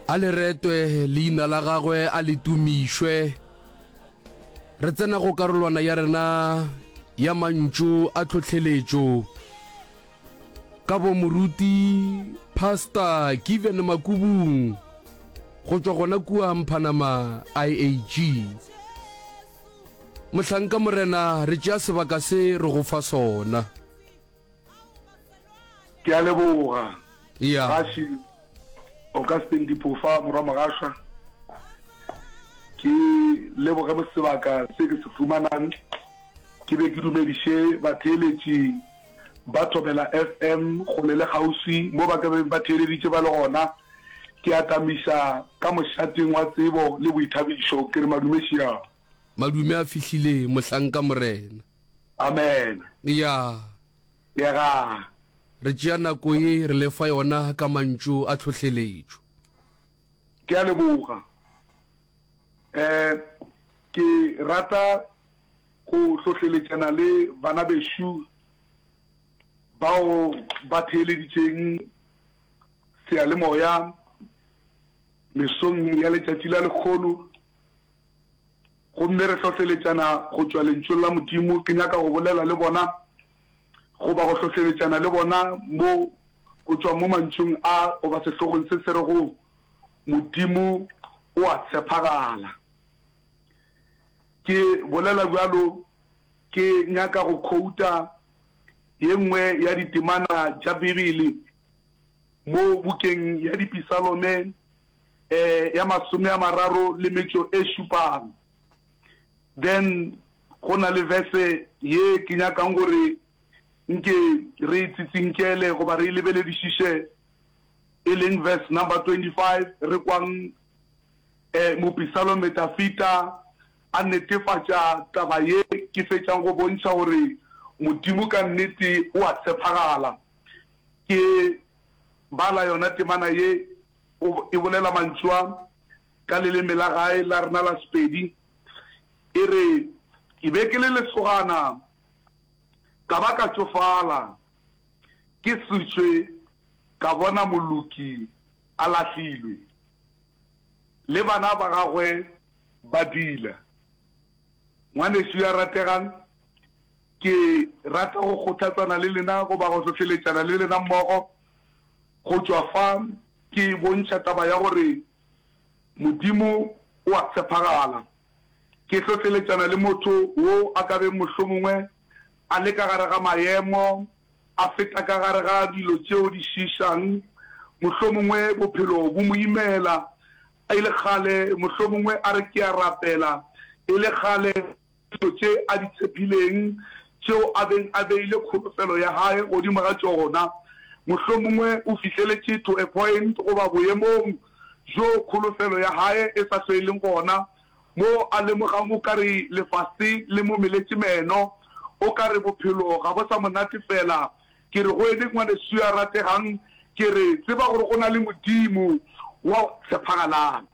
A le retwe leina la gagwe, a le tumišwe. Re tsena go karolwana ya rena ya mantšu a tlhohleletšo ka bo moruti Pastor Given Makubung go tšwa gona kua Mphanama IAG. Mohlanka Morena, re tšea sebaka se re go fa sona. Ke a leboga. Ya. Gaši Augustine Diphofa morwa Mogašwa. Ke leboge mo sebaka se ke se fumanang ke be ke dumediše batheeletši ba Thobela FM kgole le kgauswi mo ba ka beng ba theeleditše ba le gona. Ke atamiša ka mošateng wa tsebo le boithabišo ke re madume šiao. Madume a fihlile mohlanka Morena. Amen. Ya. Yega. Re tšea nako ye re le fa yona ka mantšu a tlhohleletšo. Ke a leboga. Eh, ke rata go hlohleletšana le bana bešo bao ba theeleditšeng seyalemoya mesong ya letšatši la lekgono. Gomme re hlohleletšana go tšwa Lentšung la Modimo. Ke nyaka go bolela le bona, goba go hlohleletšana le bona mo, go tšwa mo mantšung a, goba sehlogong se se rego, Modimo o a tshephagala. Ke bolela bjalo, ke nyaka go khouta ye nngwe ya ditemana tša Bibele mo bukeng ya Dipisalome, eh, ya masomeamararo le metšo e šupang. Then go na le verse ye ke nyakang gore nke re e tsitsinkele goba re e lebeledišiše, e leng verse number 25, re kwang eh, mopisalome Dafita a netefatša taba ye ke fetšang go bontšha gore Modimo ka nnete o a tshephagala. Ke bala yona temana ye O e bolela mantšu a ka leleme la gae la rena la Sepedi. E re, Ke be ke le lesogana, ka ba ka tšofala, ke sešwe ka bona moloki a lahlilwe, le bana ba gagwe ba diila. Ngwanešu ya rategang, ke rata go kgothatsana le lena goba go hlohleletšana le lena mmogo. Go tšwa fa ke bontšha taba ya gore Modimo o a tshepagala. Ke hlohleletšana le motho wo a ka beng mohlomongwe a le ka gare ga maemo, a feta ka gare ga dilo tšeo di šiišang, mohlomongwe bophelo bo mo imela, e le kgale mohlomongwe a re ke a rapela, e le kgale Dilo tše a di tshephileng, tšeo a beng a beile kholofelo ya hae godimo ga tšona. Mohlomongwe o fihleletše to a point goba boemong bjo kholofelo ya hae e sa hlwe e leng gona, mo a lemogang o ka re lefase le mo meletše meno, o ka re bophelo ga bo sa mo natefela. Ke re go ene ngwaneso yo a rategang, ke re, tseba gore go na le Modimo wa tshephagalang.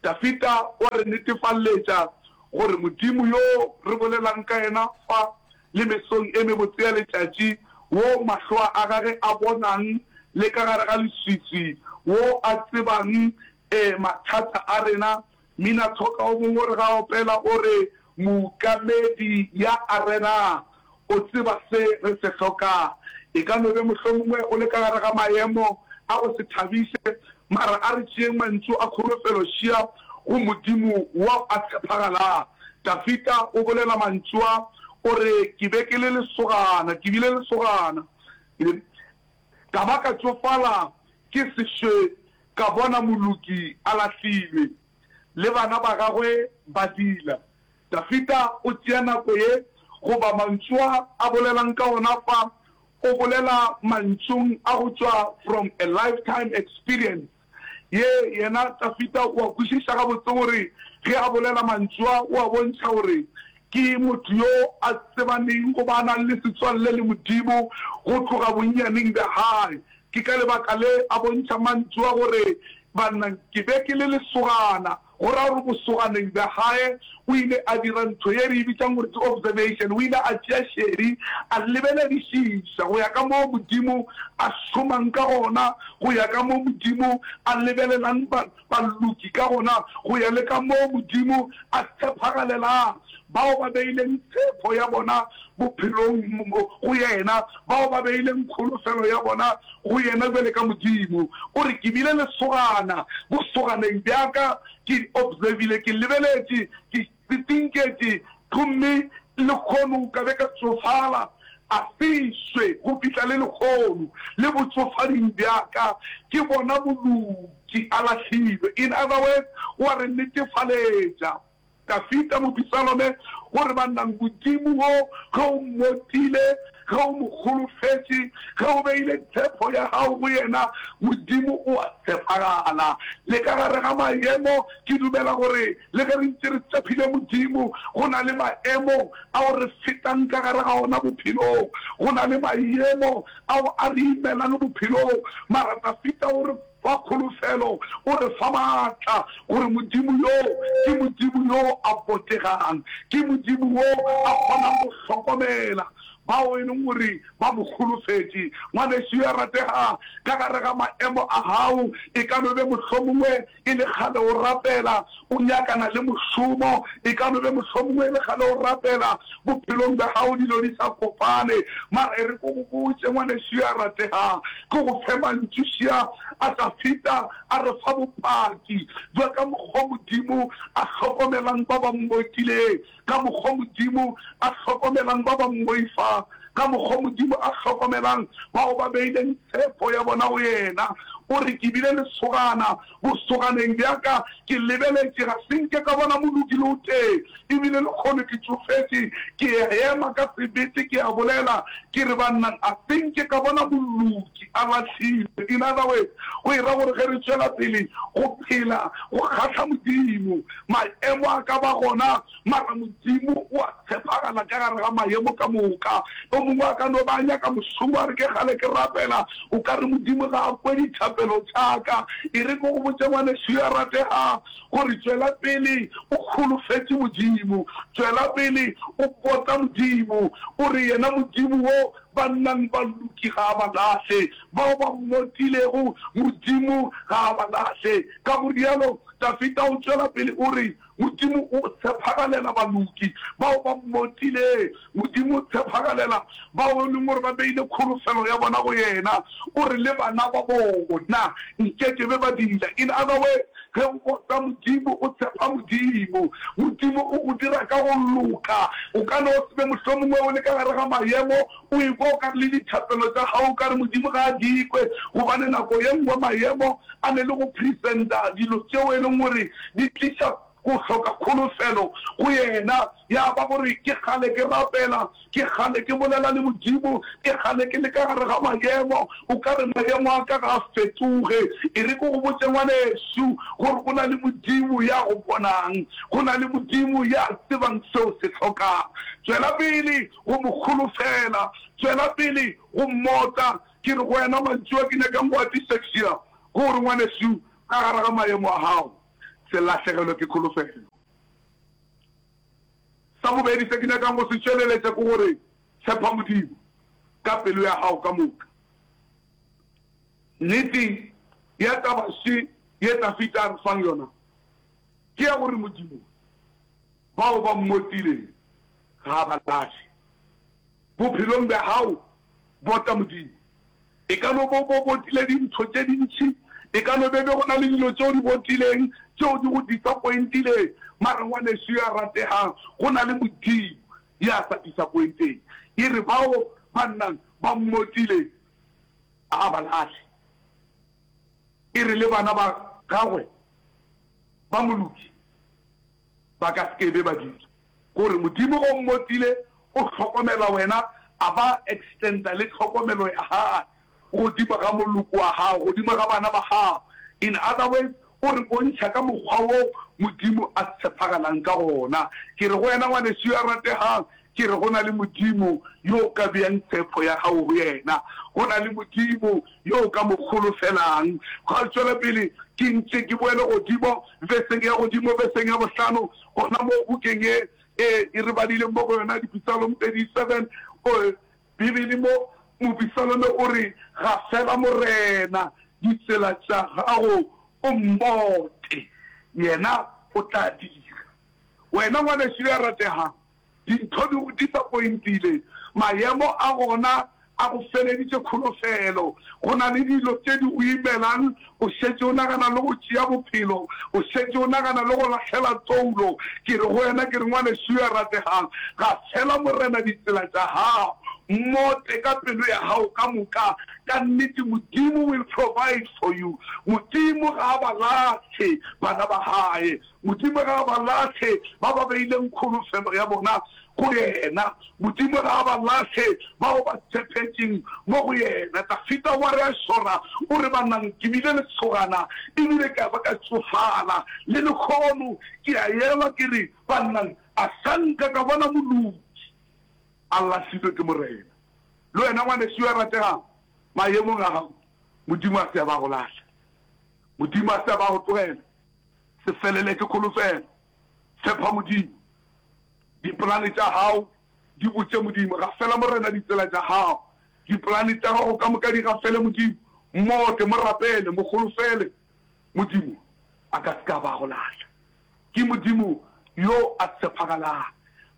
Dafida o a re netefalletša gore Modimo yo re bolelang ka yena fa le mesong e mebotse ya letšatši, wo mahlo a gage a bonang le ka gare ga leswiswi, wo a tsebang mathata a rena. Mminathoka o mongwe o re ga a opela o re, Mookamedi ya a rena o tseba se re se hlokang. E ka no be mohlomongwe o le ka gare ga maemo a go se thabiše, mara a re tšeeng mantšu a kholofelo šia go Modimo wa a tshephagalang. Dafida o bolela mantšu a, o re, Ke be ke le lesogana, ke bile lesogana, ka ba ka tšofala ke sešwe ka bona moloki a lahlilwe, le bana ba gagwe ba diila. Dafida o tšea nako ye goba mantšu a a bolelang ka ona fa, o bolela mantšung a go tšwa from a lifetime experience ye yena Dafida o a kwešiša gabotse gore ge a bolela mantšu a o a bontšha gore ke motho yo a tsebaneng goba a nang le setswalle le Modimo go tloga bonnyaneng bja gae. Ke ka lebaka le a bontšha mantšu a gore, Banna, ke be ke le lesogana. Go ra gore bosoganeng bja gae. O ile a dira ntho ye re e bitšang gore ke observation. O ile a tšea šedi, a lebeledišiša go ya ka moo Modimo a šomang ka gona, go ya ka moo Modimo a lebelelang ba, baloki ka gona, go ya le ka moo Modimo a tshephagalelang bao ba beileng tshepo ya bona bophelong go Yena, bao ba beileng kholofelo ya bona go Yena bjale ka Modimo. O re, Ke bile lesogana bosoganeng bja ka, ke observile, ke lebeletše, ke tsinketše, gomme lehono ka be ka tsofala, a se swe go fihla le lehono, le botsofading bja ka, ke bona moloki a lahlilwe. In other words, o a re netefaletša. Dafida mopisalome o re, Bannang, Modimo wo ge o mmotile, ge o mo holofetše, ge o beile tshepo ya gago go yena, Modimo o a tshepagala. Le ka gare ga maemo, ke dumela gore le ge re ntše re tshepile Modimo, go na le maemo ao re fetang ka gare ga ona bophelong. Go na le maemo ao a re imelang bophelong. Mara Dafida o re, Fa kholofelo, o re fa maatla gore Modimo yo ke Modimo yo a botegang, ke Modimo wo a kgonang go hlokomela bao e leng gore ba mo holofetše. Ngwanešu yo a rategang, ka gare ga maemo a gago, e ka no be mohlomongwe e le kgale o rapela o nyakana le mošomo, e ka no be mohlomongwe e le kgale o rapela bophelong bja gago dilo di sa kopane, mara e re ke go botše, ngwanešu yo a rategang, ke go fe mantšu šia a Dafida a re fa bopaki bja ka mokgwa Modimo a hlokomelang ba ba mmotileng, ka mokgwa Modimo a hlokomelang ba ba mmoifang, ka mokgwa Modimo a hlokomelang bao ba beileng tshepo ya bona go yena. O re, Ke bile lesogana bosoganeng bja ka, ke lebeletše, ga se nke ka bona moloki le o tee, e bile lekgono ke tšofetše, ke ema ka sebete ke a bolela, ke re, Banna, a se nke ka bona moloki a lahlilwe. In other words, go e ra gore ge re tšwela pele go phela go kgahla Modimo, Maemo a ka ba gona, mara Modimo o a tshepagala ka gare ga maemo ka moka. O mongwe a ka no ba a nyaka mošomo, a re, Ke kgale ke rapela, o ka re Modimo ga a kwe dithapelo tša ka. E re ke go botše, ngwanešu yo a rategago, gore tšwela pele o holofetše Modimo. Tšwela pele o bota Modimo. O re, Yena Modimo wo ba nnang ba loki ga a ba lahle. Bao ba mmotilego, Modimo ga a ba lahle. Ka go rialo, Dafida o tšwela pele o re, Modimo o tshephagalela baloki bao ba mmotileng. Modimo o tshephagalela bao e leng gore ba beile kholofelo ya bona go yena. O re, Le bana ba bona nke ke be ba dila. In other words, ge o bota Modimo, o tshepa Modimo, Modimo o go dira ka go loka. O ka no se be mohlomongwe o le ka gare ga maemo o ekwa o ka re le dithapelo tša gago o ka re Modimo ga a di kwe, gobane nako ye nngwe maemo a ne le go presenta dilo tšeo e leng gore di tliša go hloka kholofelo go yena. Ya ba gore ke kgale ke rapela, ke kgale ke bolela le Modimo, ke kgale ke le ka gare ga maemo, o ka re maemo a ka ga a fetoge. E re ke go botše ngwanešu gore go na le Modimo ya go bonang, go na le Modimo ya tsebang seo se hlokang. Tšwela pele go mo holofela, tšwela pele go mmota. Ke re go wena mantšu a ke nyakang go a tišexia, ke gore ngwanešu, ka gare ga maemo a gago, se lahlegelwe ke kholofelo. Sa bobedi se ke nyakang go se tšweleletša ke gore tshepa Modimo ka pelo ya gago ka moka. Nnete ya taba še ye Dafida a re fang yona ke ya gore Modimo bao ba mmotileng ga a ba lahle. Bophelong bja gago Bota Modimo. E ka no bo bo botile dintho tše dintši, e ka no be be go na le dilo tše o di botileng tšeo di go disappointileng, mara ngwanešu yo a rategang, go na le Modimo ya sa disappointeng. E re bao ba nnang ba mmotileng a a ba lahle. E re le bana ba gagwe ba moloki ba ka se ke be ba dira. Gore Modimo o mmotile, o hlokomela wena, a ba extenda le tlhokomelo ya Gagwe godimo ga moloko wa gago, godimo ga bana ba gago. In other words, o re bontšha ka mokgwa wo Modimo a tshepagalang ka gona. Ke re go wena ngwanešu yo a rategang, Ke re go na le Modimo yo o ka beang tshepo ya gago go yena. Go na le Modimo yo o ka mo holofelang. Gwa tšwela pele, ke ntše ke boele godimo veseng ya godimo, veseng ya bohlano, gona mo bukeng ye e, e re badileng mo go yona, Dipisalom 37. O, Bibele mo, mopisalome o re, Gafela Morena ditsela tša gago, o mmote, yena o tla dira. Wena ngwanešu yo a rategang, Dintho di go disappointile, maemo a gona a go feleditše kholofelo, go na le dilo tše di go imelang, o šetše o nagana le go tšea bophelo, o šetše o nagana le go lahlela toulo. Ke re go wena, ke re, ngwanešu yo a rategang, gafela Morena ditsela tša gago, mmote ka pelo ya gago ka moka, ka nnete Modimo will provide for you. Modimo ga a ba lahle bana ba gae. Modimo ga a ba lahle ba ba beileng kholofelo ya bona go yena. Modimo ga a ba lahle bao ba tshepetšeng mo go yena. Dafida wa re a šora, o re, Banang, ke bile lesogana e bile ka ba ka tšofala, le lehono ke a elwa ke re, Banang, a sa nka ka bona moloki a lahlilwe ke Morena. Le wena ngwanešu yo a rategang, maemong a gago, Modimo a se a ba go lahla. Modimo a se a ba go tlogela. Se felele ke kholofelo. Tshepa Modimo. Dipolane tša gago di botše Modimo. Gafela Morena ditsela tša gago. Dipolane tša gago ka moka di gafele Modimo. Mmote, mo rapele, mo kholofele. Modimo a ka se ke a ba go lahla. Ke Modimo yo a tshepagalang.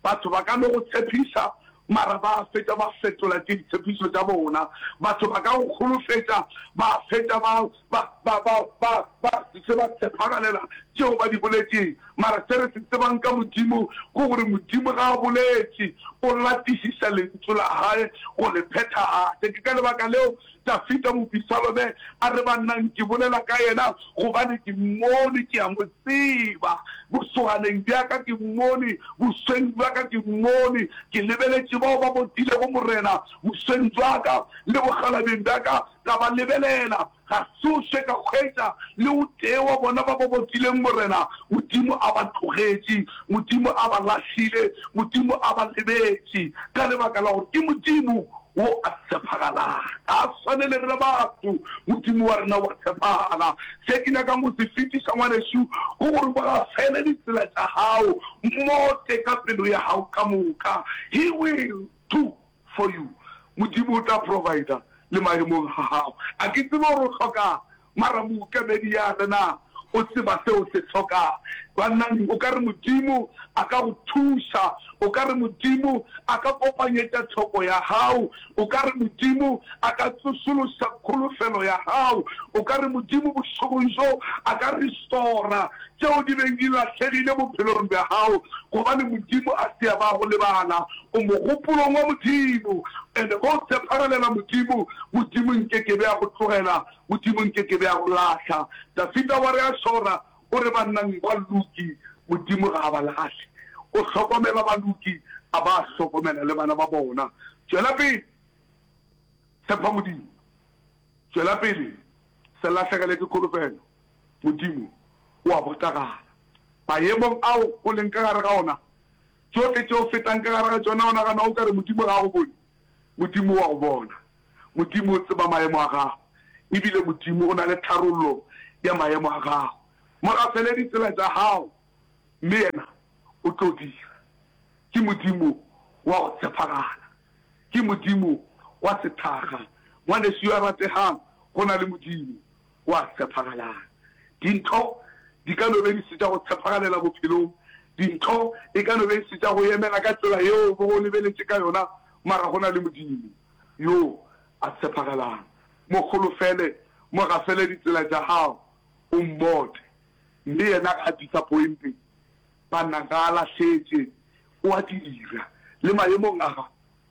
Batho ba ka no go tshepiša, mara ba fetša ba fetola tše ditshepišo tša bona. Batho ba ka go kholofetša, ba fetša ba, ba, ba, ba, ba, ba se ba tshepagalela tšeo ba di boletšeng. Mara se re se tsebang ka Modimo ke gore Modimo ga a boletše, o latišiša Lentšu la Hae go le phethagatša. Ke ka lebaka leo Dafida mopisalome a re, Bannang, ke bolela ka yena, gobane ke mmone, ke a mo tseba. Bosoganeng bja ka ke mmone, bosweng bja ka ke mmone. Ke lebeletše bao ba botilego Morena, bosweng bja ka le bokgalabeng bja ka ka ba lebelela. Ga tsoše ka hwetša le o tee wa bona ba ba botileng Morena. Modimo a ba tlogetše, Modimo a ba lahlile, Modimo a ba lebetše, ka lebaka la gore ke Modimo wo a tshepagalang. Ga a swane le rena batho, Modimo wa rena wa tshepagala. Se ke nyakang go se fetiša, ngwanešu, ke gore o gafele ditsela tša gago, mmote ka pelo ya gago ka moka. He will do for you. Modimo o tla provider le maemong a gago. A ke tsebe gore o hlokang, mara mookemedi ya rena o tseba se o se hlokang. Bannang, o ka re Modimo a ka go thuša, o ka re Modimo a ka kopanyetša tlhoko ya gago, o ka re Modimo a ka tsošološa kholofelo ya gago, o ka re Modimo bošegong bjo a ka restora tšeo di beng di lahlegile bophelong bja gago, gobane Modimo a se a ba go lebala. O mogopolong wa Modimo, and ge o tshepagalela Modimo, Modimo nke ke be a go tlogela, Modimo nke ke be a go lahla. Dafida wa re a šora, o re bannang baloki Modimo ga a ba lahle. O hlokomela baloki, a ba a hlokomela le bana ba bona. Tšwela pele, tshepa Modimo. Tšwela pele, se lahlegele ke kholofelo. Modimo o a botagala. Maemong ao o leng ka gare ga ona, Tšohle tše o fetang ka gare ga tšona, o nagana o ka re Modimo ga a go bone? Modimo o a go bona. Modimo o tseba maemo a gago. E bile Modimo o na le tharollo ya maemo a gago. Mo gafele ditsela tša gago, mme yena o tlo dira. Ke Modimo wa go tshepagala. Ke Modimo wa sethakga. Ngwanešu yo a rategang, go na le Modimo wa tshepagalang. Dintho di ka no be di se tša go tshepagalela bophelong, dintho e ka no be e se tša go emela ka tsela yeo o bego o lebeletše ka yona, mara go na le Modimo yo a tshepagalang. Mo holofele, mo gafele ditsela tša gago, o mmote, mme yena ga a disappointe. Banna ga a lahletše, o a dira. Le maemong a gago,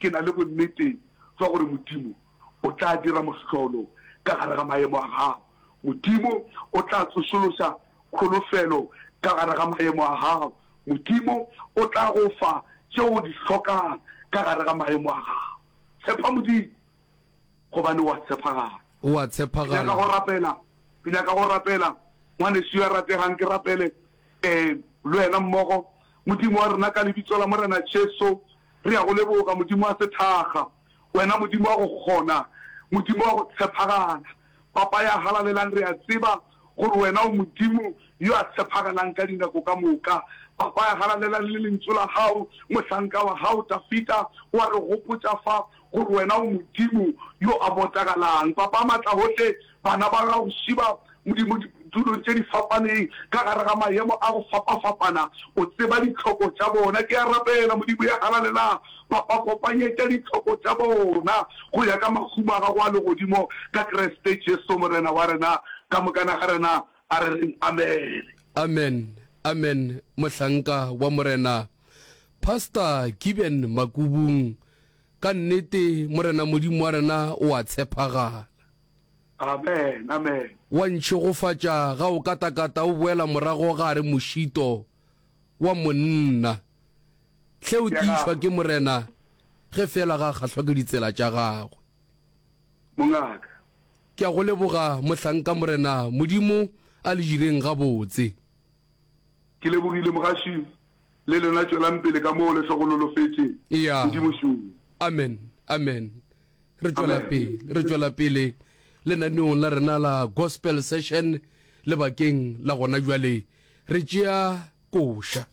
ke na le bonnete bja gore Modimo o tla dira mohlolo ka gare ga maemo a gago. Modimo o tla tsošološa kholofelo ka gare ga maemo a gago. Modimo o tla go fa tšeo o di hlokang ka gare ga maemo a gago. Tshepa Modimo, gobane o a tshepagala. O a tshepagala. Ke nyaka go rapela. Ke nyaka go rapela, ngwanešu yo a rategang, ke rapele, ee, le wena mmogo. Modimo wa rena, ka Lebitso la Morena Jesu, Re a go leboga, Modimo wa sethakga, wena Modimo wa go kgona, Modimo wa go tshephagala. Papa ya halalelang, re a tseba gore wena o Modimo yo a tshephagalang ka dinako ka moka. Papa ya halalelang, le Lentšu la Gago, mohlanka wa Gago Dafida o a re gopotša fa gore wena o Modimo yo a botagalang. Papa Matlagohle, bana ba gago šiba, Modimo, ditulong tše di fapaneng, ka gare ga maemo a go fapafapana, o tseba ditlhoko tša bona. Ke a rapela, Modimo ya halalelang, Papa, kopanyetša ditlhoko tša bona go ya ka mahumo a Gago a Legodimo, ka Kriste Jesu Morena wa rena. Ka mokana ga rena a re reng amene. Amen amen mohlanka wa Morena Pastor Giben Makubung ka nnete Morena Modimo wa rena o a tshephagala. Amen amen. Wa ntšhegofatša ga o katakata o boela morago gare mošito wa monna. Hle o tiišwa ke Morena ge feela ga a kgahlwa ke ditsela tša gagwe. Mongaka. Ke a go leboga mohlanka Morena Modimo a le direng gabotse. Ke lebogile mogaši le lena tšwelang pele ka moo le hlogonolofetše Eya. Modimo šoo. Amen amen re tšwela pele re tšwela pele lenaneong la rena la gospel session lebakeng la gona bjale re tšea koša.